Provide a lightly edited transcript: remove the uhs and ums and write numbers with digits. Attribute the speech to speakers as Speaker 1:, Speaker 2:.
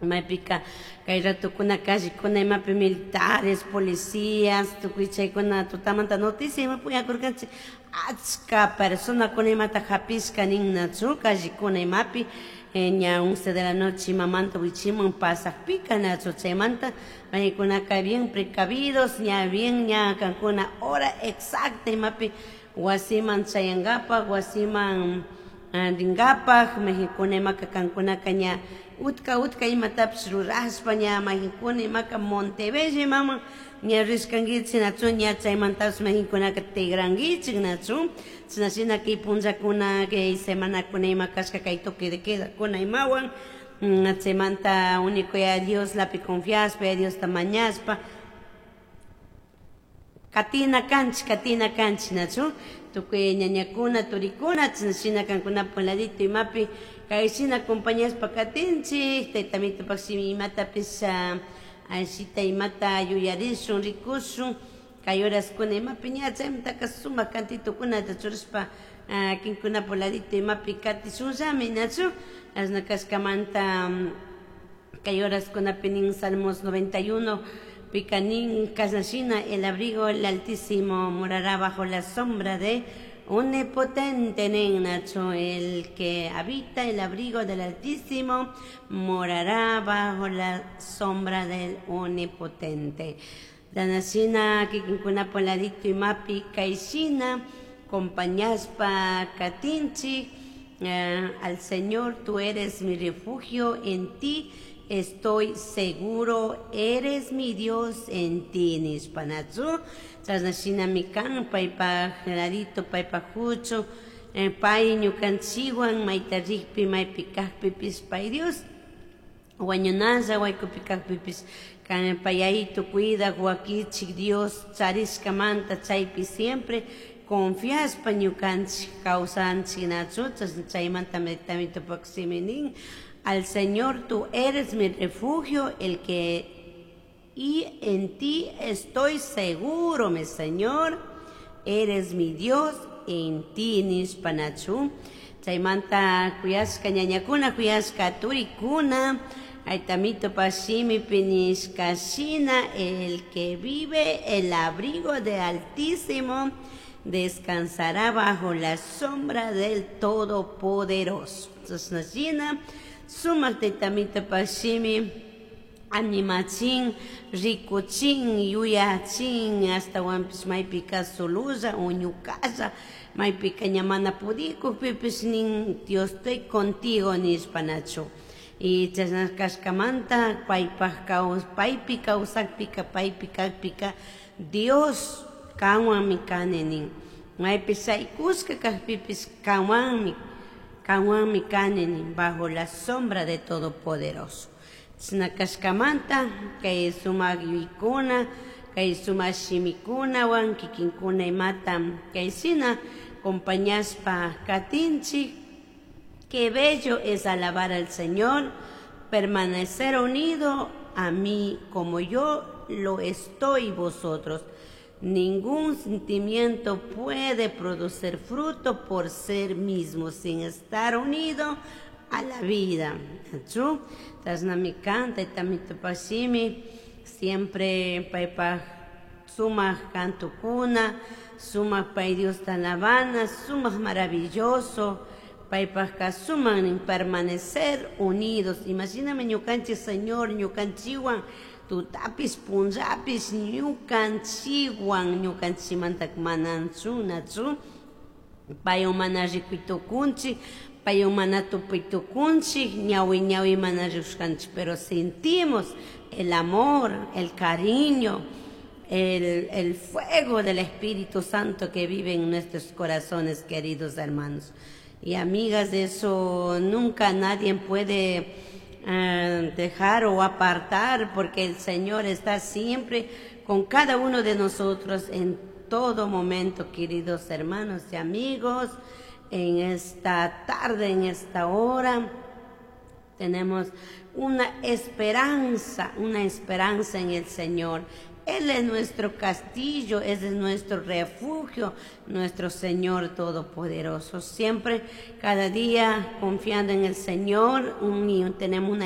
Speaker 1: Maypika kay ratukuna callecuna imapi militares, policías, tukuy chaykuna tutamanta noticia imapi uyakurkanchik achka personakuna imata hapishka nin nachu callecuna imapi ña 11 de la noche imamanta wichiman pasakpika nachu. Chaymanta paykunaka bien precavidos, ña bien ña kankuna hora exacta imapi wasiman chayankapak, wasiman rinkapak mayjinkuna imaka kankunaka ña utka utka imatapish rurashpa ña mayjinkuna imaka Montebello imaman ña rishkankichik nachu, ña chaymantapish mayjinkunaka tigrankichik nachu. Chashna shina kay punllakuna, kay semanakuna ima kashka kay toque de quedakuna imawan. Chaymanta único Yaya Dioslapi confiashpa, Yaya Diosta mañashpa katina kanchik, katina kanchik nachu. Tukuy ñañakuna, turikuna, chashna shina kankunapak ladito imapi kay shina acompañashpa katinchik. Tayta Amitopak shimi imatapish ashita imata yuyarishun, rikushun kay horaskuna imapi ña chaymantaka sumak cantitukunata churashpa kinkunapak ladito imapi katishunllami nachu. Ashna kashkamanta kay horaskunapi nin Salmos 91 pika nin kashna shina: "El abrigo del Altísimo morará bajo la sombra de Omnipotente" nin nachu. "El que habita el abrigo del Altísimo morará bajo la sombra del Omnipotente". Shina kikinkunapak ladito imapi kay shina acompañashpa katinchik. Al Señor, tú eres mi refugio, en ti estoy seguro, eres mi Dios, en ti nishpa nachu. Chashna shinami kan paypak ladito, paypak huchu, pay ñukanchikwan mayta rikpi, maypi kakpipish pay Dios, wañunalla waykupi kakpipish kan pay Yayito cuidak wakichik Dios charishkamanta chaypi siempre confiashpa ñukanchik kawsanchik nachu. Chashna chaymanta Amitopak shimi nin: "Al Señor, tú eres mi refugio, el que y en ti estoy seguro, mi Señor, eres mi Dios, en ti" nishpa nachu. Chaymanta kuyashka ñañakuna, kuyashka turikuna, Tayta shimipi nishka shina: "El que vive el abrigo de Altísimo descansará bajo la sombra del Todopoderoso". Chashna shina sumak Tayta Amitopak shimi animachin, rikuchin, yuyachin, ashtawanpish maypika sololla o ñukalla maypika ña mana pudikukpipish nin: "Dios, estoy contigo" nishpa nachu. Y chashna kashkamanta paypak paypi kawsakpika, paypi kakpika, Dios kanwanmi kani nin. Maypi shaykushka kakpipish kanwanmi, kanwanmi kani nin, bajo la sombra de Todopoderoso. Chashna kashkamanta kay sumak yuyaykuna, kay sumak shimikunawan kikinkuna imata kay shina acompañashpa katinchik. Qué bello es alabar al Señor, permanecer unido a mí como yo lo estoy vosotros. Ningún sentimiento puede producir fruto por sí mismo sin estar unido a la vida. Chu, chashnami kan Tayta Amitopak shimi, siempre paypak sumak cantukuna, sumak pay Diosta alabana, sumak maravilloso, paypajka sumak nin permanecer unidos. Imashinami ñukanchik Señor ñukanchikwan tutapish punllapish ñukanchikwan, ñukanchikmanta mananchu nachu. Paywan mana rikuy tukunchik, paywan mana tupuy tukunchik, ñawi ñawi mana rikushkanchik, pero sentimos el amor, el cariño, el fuego del Espíritu Santo que vive en nuestros corazones, queridos hermanos y amigas. De eso nunca nadie puede dejar o apartar, porque el Señor está siempre con cada uno de nosotros en todo momento, queridos hermanos y amigos. En esta tarde, en esta hora, tenemos una esperanza en el Señor. Él es nuestro castillo, Él es nuestro refugio, nuestro Señor Todopoderoso. Siempre, cada día, confiando en el Señor, tenemos una